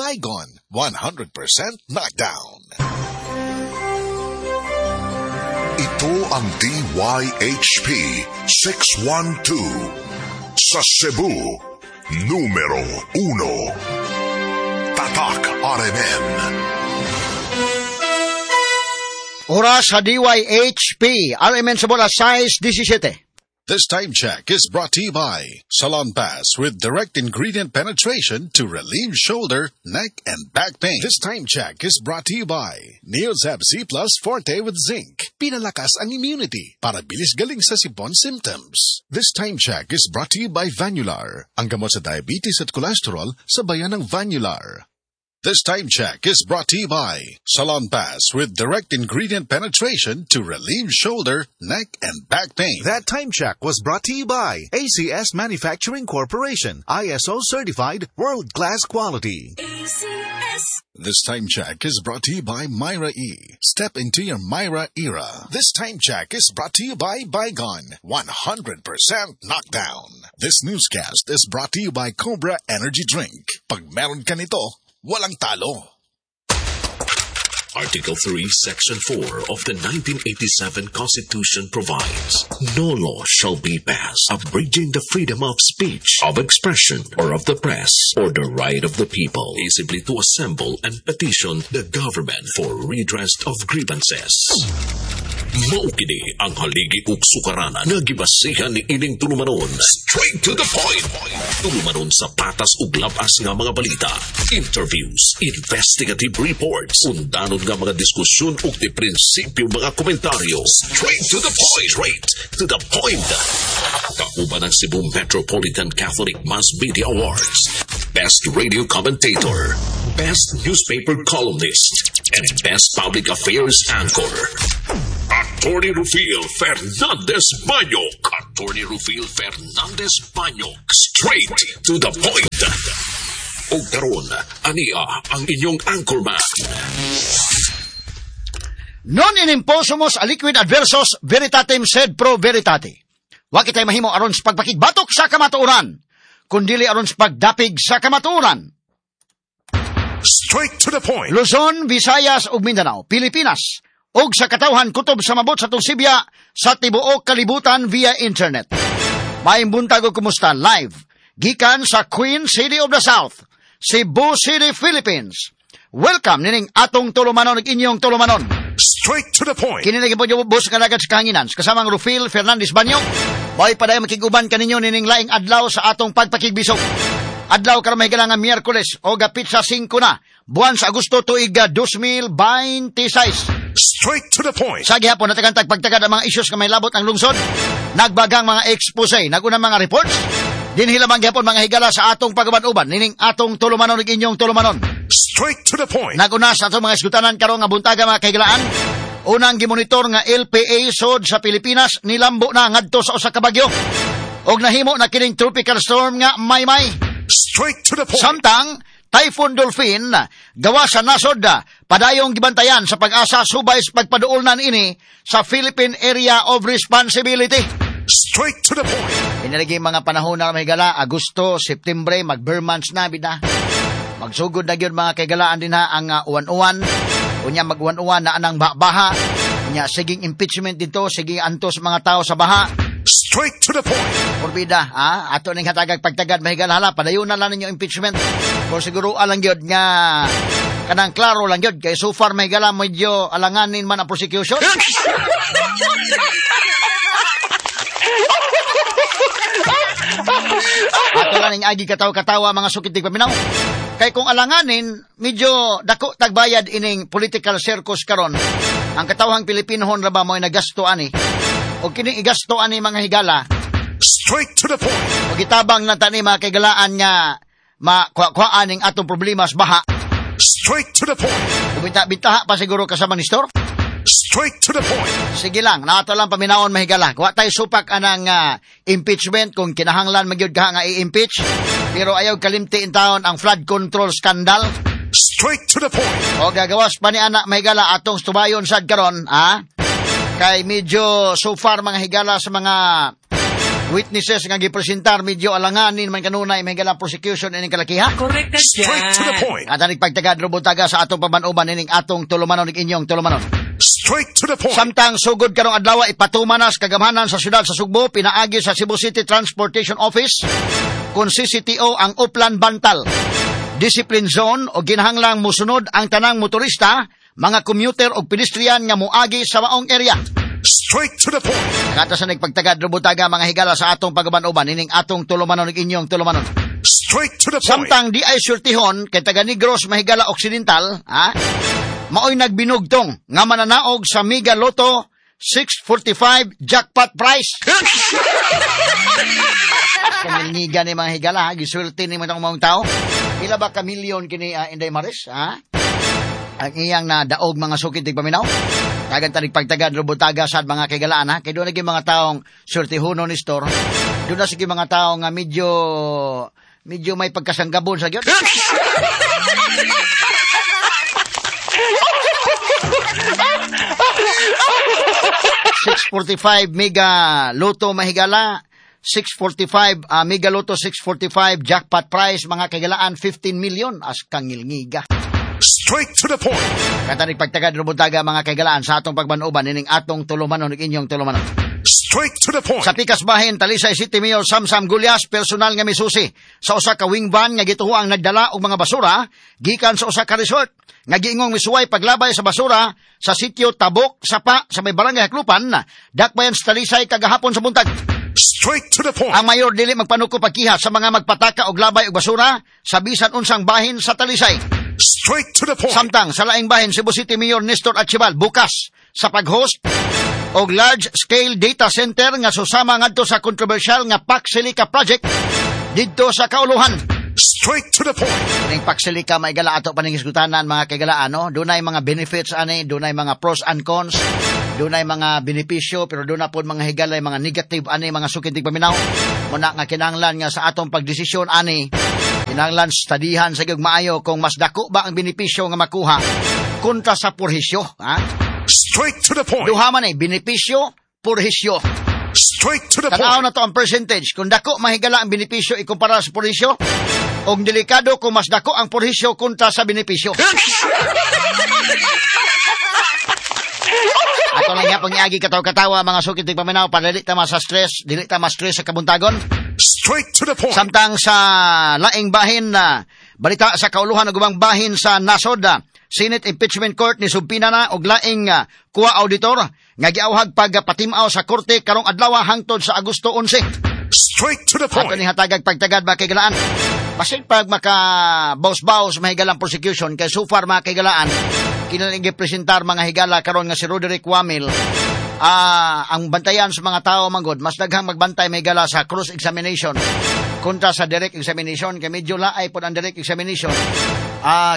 Baygon, 100% knockdown. Ito ang DYHP 612 sa Cebu, numero 1. Tatak RMN. Oras sa DYHP, RMN sa bola, size 17. This time check is brought to you by Salon Pass with direct ingredient penetration to relieve shoulder, neck, and back pain. This time check is brought to you by Neozep C Plus Forte with Zinc. Pinalakas ang immunity para bilis galing sa sipon symptoms. This time check is brought to you by Vanular, ang gamot sa diabetes at cholesterol sa bayan ng Vanular. This time check is brought to you by Salon Pass with direct ingredient penetration to relieve shoulder, neck, and back pain. That time check was brought to you by ACS Manufacturing Corporation, ISO certified world-class quality. ACS. This time check is brought to you by Myra E. Step into your Myra era. This time check is brought to you by Baygon, 100% knockdown. This newscast is brought to you by Cobra Energy Drink. Pag meron ka nito, walang talo. Article 3, Section 4 of the 1987 Constitution provides, "No law shall be passed abridging the freedom of speech, of expression, or of the press, or the right of the people peaceably to assemble and petition the government for redress of grievances." Mao kini ang haligi ug sukaranan nga gibasihan ni ining tulumanon. Straight to the point. Tulumanon sa patas ug labas nga mga balita, interviews, investigative reports, undanon nga mga diskusyon ug di prinsipyo mga komentaryo. Straight to the point. Straight to the point. Kauban ang Cebu Metropolitan Catholic Mass Media Awards, Best Radio Commentator, Best Newspaper Columnist, and Best Public Affairs Anchor. Attorney Rufil Fernandez Banyok. Attorney Rufil Fernandez Banyok. Straight to the point. Og karon, ania ang inyong anchorman. Non in imposumus aliquid adversos veritatem sed pro veritate. Wa kitay mahimo aron sa pagpakigbatok sa kamatuoran, kundili aron sa pagdapig sa kamatuoran. Straight to the point. Luzon, Visayas ug Mindanao, Pilipinas, ug sa katawhan kutob sa mabot sa Tulsibya sa tibuok kalibutan via internet. Maayong buntag ug kumusta live gikan sa Queen City of the South, Cebu City, Philippines. Welcome nining atong tulumanon ug inyong tulumanon. Straight to the point. Kini lagi po yung bus nga lagad sa kahanginan. Kasamang Rufil Fernandez Banyo. Mo'y padayon makig-uban kaninyo nining laing adlaw sa atong pagpakigbisog. Adlaw karon may nga Miyerkules o petsa 5 na, buwan sa Agosto tuig 2026. Straight to the point. Sa gihapon natagantag pagtagad ang mga issues nga may labot ang lungsod. Nagbagang mga expose, nagunang mga reports. Dinhi lamang gihapon mga higala sa atong pag-uban-uban nining atong tulumanon ug inyong tulumanon. Straight to the point. Naguna sa atong mga esgutanan karon nga buntaga, mga kahigalaan. Unang gimonitor nga LPA sod sa Pilipinas nilambo na ngadto sa usa ka bagyo. Og nahimo na kining tropical storm nga Maymay. Straight to the point. Samtang Typhoon Dolphin gawa sa nasod padayong gibantayan sa Pag-asa subay sa pagpaduolnan ini sa Philippine Area of Responsibility. Straight to the point. Inalagi mga panahon na may gala, Agosto, Septembre, mag-Ber months na bida. Magsugod na gyud mga kaigalaan din ha ang uwan-uwan. Unya mag-uwan-uwan na anang baha. Unya siging impeachment dito, siging antos mga tao sa baha. Straight to the point. Porbida, ha? Ato ning hatagag pagtagad mahigala, padayon na lang ninyo impeachment. Kung siguro alang gyud nga kanang klaro lang gyud kay so far mahigala medyo alanganin man ang prosecution. Ato lang ning agi katawa-katawa mga sukit paminaw. Kay kung alanganin, medyo dako tagbayad ining political circus karon. Ang katawhang Pilipinohon ra ba mo'y nagasto ani? O kini igasto ani mga higala. Straight to the point. O gitabang na tani mga kaigalaan nga makuha-kuhaan ning atong problema sa baha. Straight to the point. O binta-bintaha pa siguro kasama ni Store. Straight to the point. Sige lang, naato lang paminawon mahigala. Wa tay supak anang impeachment kung kinahanglan magyud ka nga i-impeach. Pero ayaw kalimti in taon ang flood control scandal. Straight to the point. O gagawas pa ni anak mahigala atong tubayon sad karon, ha? Kay medyo so far mga higala sa mga Witnesses nga gipresentar medyo alanganin man kanunay may galang prosecution ining kalakiha. Correct ka dyan. Straight to the point. At aning pagtagad robutaga sa atong paban-uban ining atong tulumanon ug inyong tulumanon. Straight to the point. Samtang sugod karong adlaw ipatuman na sa kagamhanan sa syudad sa Sugbo pinaagi sa Cebu City Transportation Office kun CCTO ang Uplan Bantal Discipline Zone o ginahanglang musunod ang tanang motorista, mga commuter o pedestrian nga moagi sa maong area. Straight to the point. Kata sa nagpagtagad robutaga mga higala sa atong pagaban-uban ining atong tulumanon ug inyong tulumanon. Straight to the point. Samtang di ay surtihon kay taga Negros Mahigala Occidental, ha? Maoy nagbinugtong nga mananaog sa Mega Lotto 645 jackpot prize. Kamilniga ni mga higala, ha? Giswerte ni mga mga tao. Pila ba ka milyon kini Inday Maris, ha? Ang iyang nadaog mga sukit tigpaminaw. Tagan tanig pagtagad robutaga sad mga kaigalaan, ha? Kay doon naging mga taong surtihono ni store. Doon na sige mga tao nga medyo may pagkasanggabon sa gyud. 645 Mega Lotto mahigala, 645 Mega Lotto 645 jackpot prize mga kaigalaan 15 million as kangilngiga. Straight to the point. Katanig pagtagad robutaga mga kaigalaan sa atong pagbanuban ining atong tulumanon ug inyong tulumanon. Straight to the point. Sa pikas bahin, Talisay City Mayor Samsam Gulyas personal nga misusi sa usa ka wing van nga gituhuang nagdala og mga basura gikan sa usa ka resort nga giingong misuway paglabay sa basura sa sitio Tabok Sapa sa may barangay Haklupan, dakbayan sa Talisay kagahapon sa buntag. Straight to the point. Ang mayor dili magpanuko pagkiha sa mga magpataka og labay og basura sa bisan unsang bahin sa Talisay. Straight to the point. Samtang sa laing bahin, Cebu City Mayor Nestor Archival bukas sa pag-host og large scale data center nga susama ngadto sa kontrobersyal nga Pax Silica project didto sa Kauluhan. Straight to the point. Ning Pax Silica may gala ato paning hisgutanan mga kaigalaan, no? Dunay mga benefits ani, dunay mga pros and cons, dunay mga benepisyo pero dunay pod mga higalay mga negative ani mga sukid paminaw. Muna nga kinahanglan nga sa atong pagdesisyon ani kinahanglan studyhan sa gyud maayo kung mas dako ba ang benepisyo nga makuha kontra sa purhisyo, ha? Straight to the point. Duha man benepisyo, purhisyo. Straight to the point. Tanaw na to ang percentage. Kung dako mahigala ang benepisyo ikumpara sa purhisyo, og delikado kung mas dako ang purhisyo kontra sa benepisyo. Ato lang nga pangiagi kataw-katawa mga sukit ng paminaw para dili ta ma-stress, dili ta ma-stress sa kabuntagon. Straight to the point. Samtang sa laing bahin na balita sa kauluhan ug ubang bahin sa nasod, Senate Impeachment Court ni subpina na og laing kuwa auditor nga giawhag pagpatim-aw sa korte karong adlaw hangtod sa Agosto 11. Straight to the point. Ato ni hatagag pagtagad ba kay galaan. Basin pag maka baus-baus mahigalang prosecution kay so far mga kaigalaan kinalang gipresentar mga higala karon nga si Roderick Wamil. Ang bantayan sa mga tao manggod mas daghang magbantay mahigala sa cross examination kontra sa direct examination kay medyo laay pod ang direct examination.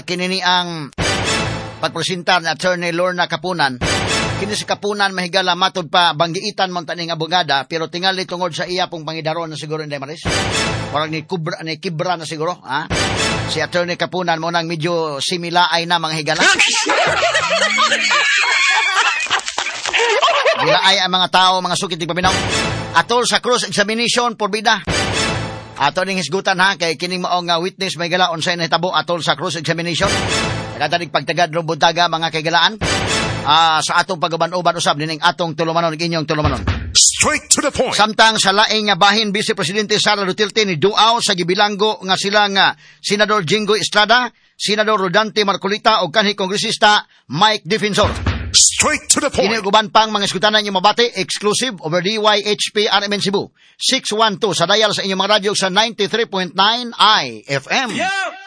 Kini ni ang pagpresentar ni Attorney Lorna Kapunan. Kini si Kapunan mahigala matud pa banggiitan man taning abogada pero tingali tungod sa iya pong pangidaron na siguro Inday Maris. Parang ni kubra ni kibra na siguro, ha? Si Attorney Kapunan mo nang medyo similaay na mga higala. Gilaay ang mga tao, mga sukit ng paminaw. Atol sa cross examination porbida. Ato ning hisgutan ha kay kining mao nga witness may gala unsay nahitabo atol sa cross examination. Nagatanig pagtagad robutaga mga kaigalaan. Sa atong pagaban-uban usab nining atong tulumanon ug inyong tulumanon. Straight to the point. Samtang sa laing nga bahin, Vice Presidente Sara Duterte ni duaw sa gibilanggo nga sila nga Senador Jinggoy Estrada, Senador Rodante Marcolita ug kanhi Kongresista Mike Defensor. Straight to the point. Kini uban pang mga iskutanan inyong mabati, exclusive over DYHP RMN Cebu 612 sa dial sa inyong mga radyo sa 93.9 IFM. Yeah!